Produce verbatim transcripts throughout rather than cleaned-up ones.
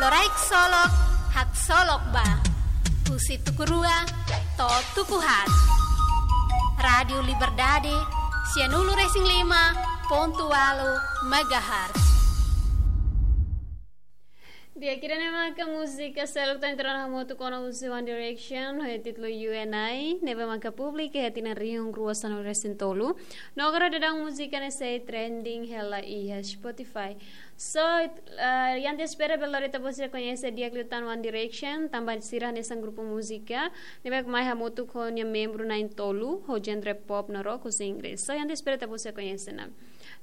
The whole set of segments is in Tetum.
Loraik Solok, haksolok ba. Husi tuku rua to'o tuku haat. Rádiu Liberdade, sianulu-resin-lima pontu ualu megahertz. Di'ak, ida-ne'e maka múzika seluk tan entrona hamutuk ona husi One Direction, ho títulu You and I, ne'ebé maka publika iha tinan rihun rua sanulu-resin-tolu. No agora daudaun múzika ne'e sei trending hela iha Spotify. So, eh, iha ita espera bele lori ita-boot sira koñese di'ak liután One Direction, tanba sira hanesan grupu múzika ne'ebé mai hamutuk ho nia membru na'in-tolu, ho genre pop no rock husi Inglés. So, iha ita espera ita-boot sira koñese ona.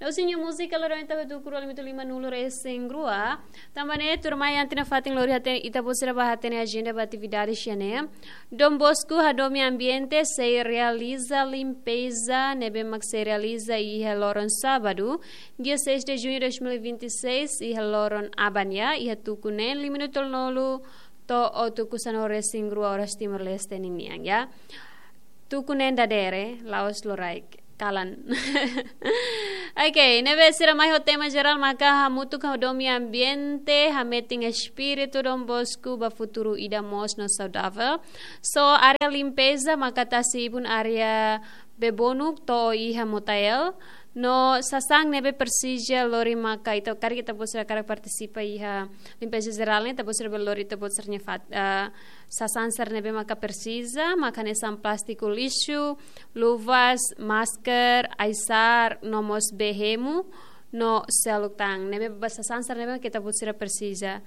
No husi nia múzika lori ita ba tuku rua limitu limanulu-resin-rua, tanba ne'e tuirmai iha ita-nia fatin lori hatene, ita-boot sira bá hatene ajenda ba atividade sira-ne'e. Don Bosco hadomi ambiente sei realiza limpeza ne'ebé mak sei realiza iha loron sábadu, dia seis de junho de dois mil e vinte e seis, iha loron aban nian, iha tuku neen lima-nulu to'o tuku sanulu-resin-rua oras Timor-Leste ninian, ya. Tuku neen dadeer, la'ós loraik, kalan. Ok, ne'ebé sira mai ho tema jerál maka hamutuk hadomi ambiente, hametin espíritu Don Bosco ba futuru ida moos no saudavel. So, área limpeza maka tasi ibun área Bebonuk to'o iha Motael. No sasán ne'ebé presiza lori maka ita, karik ita-boot sira karik partisipa iha limpeza jerál ne'e, ita-boot sira bele lori ita-boot sira-nia fat-, eh, sasán sira ne'ebé maka presiza, maka hanesan plástiku lixu, luvas, masker, aisar, no mós bee hemu, no seluk tan. Ne'ebé ba sasán sira ne'ebé maka ita-boot sira presiza.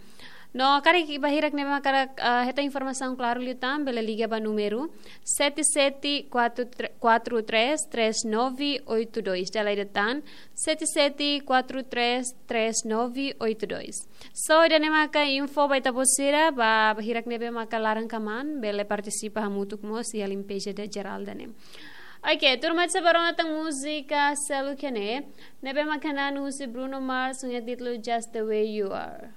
No karik bainhira ne'ebé maka, eh, hetan informasaun klaru liután, bele liga ba númeru sete sete quatro três três nove oito dois. Dala ida tan, sete sete quatro três três nove oito dois. So, ida-ne'e maka info ba ita-boot sira, ba bainhira ne'ebé maka laran kamaan, bele partisipa hamutuk mós iha limpeza jerál ida-ne'e. Ok, tuirmai sá ba rona tan múzika seluk ne'e, ne'ebé maka hanesan husi Bruno Mars, ho nia títulu Just the Way You Are.